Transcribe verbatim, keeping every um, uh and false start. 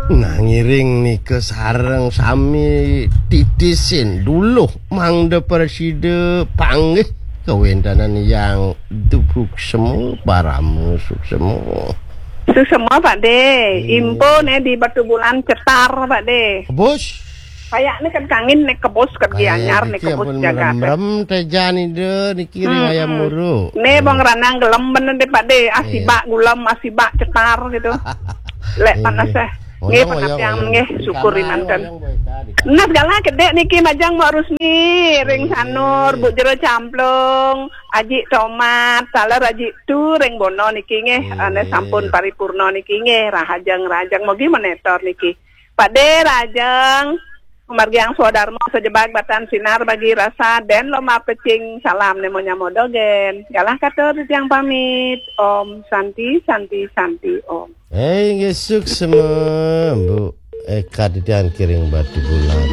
Nah, ngiring nika sareng sami titisin duluh mangda prasida panggih kawéntenan Hyang Suksma, Parama Suksma. Suksma, Pak De. Iya. Info né di Batubulan cetar, Pak De. Bos. Kayaknya kan kangin né kebos, ké Gianyar né, kebos jagat. Merem-merem téh jan Ida niki ring ayam muru. Né bang ranang gelem bener deh, Pak De. Asibak gulem, asibak cetar gitu. Lek panas eh. Nggih, pangertian nggih, syukur manten. Nah, segala gedé niki majeng Mak Rusmi, ring Sanur, Bu Jero Camplung, Aji Tomat, taler Aji Tu, ring Bono niki nggih, ané sampun paripurna niki nggih, rahajeng-rahajeng mogi menétor niki. Pak De rahajeng, margiang swadarma sajebag batan sinar bagi rasa, den lomba pecing salam nemo nyamo dogén. Galah katur tiang pamit. Om Santi, Santi, Santi, Om. Eh, inggih suksma, Bu. Eh, kadadian kiring Batubulan.